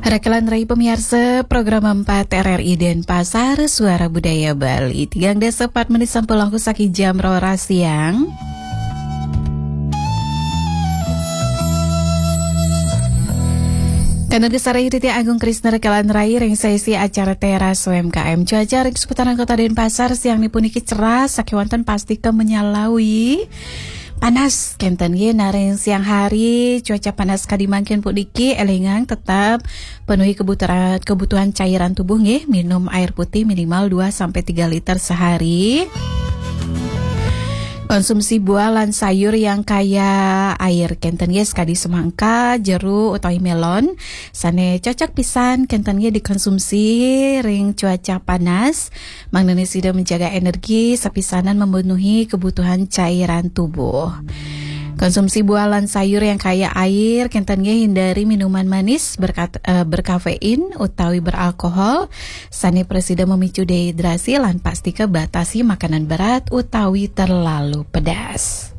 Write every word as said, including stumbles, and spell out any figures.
Rekelan rai pamiarsa program empat R R I Denpasar, Suara Budaya Bali. Tigang dasa pat menit sampulangku saki jam roras siang. Kanur gesara Yudhitya Agung Krisna rekelan rai ring sesi acara Teras U M K M. Cuaca ring seputaran Kota Denpasar siang ni puniki cerah, sakewanten pastika menyalawi. Panas kenten nggih, nah ring siang hari cuaca panas kadi mangkin puniki, elingang tetap penuhi kebutuhan, kebutuhan cairan tubuh nggih, minum air putih minimal dua sampai tiga liter sehari. Konsumsi buah lan sayur yang kaya air kenten nggih, sakadi semangka, jeruk utawi melon, sane cocok pisan kenten nggih dikonsumsi ring cuaca panas. Mangdane sida menjaga energi, sapisanan memenuhi kebutuhan cairan tubuh. Konsumsi buah lan sayur yang kaya air, kenten nggih hindari minuman manis berkat, eh, berkafein utawi beralkohol, sane prasida memicu dehidrasi, lan pastika batasi makanan berat utawi terlalu pedas.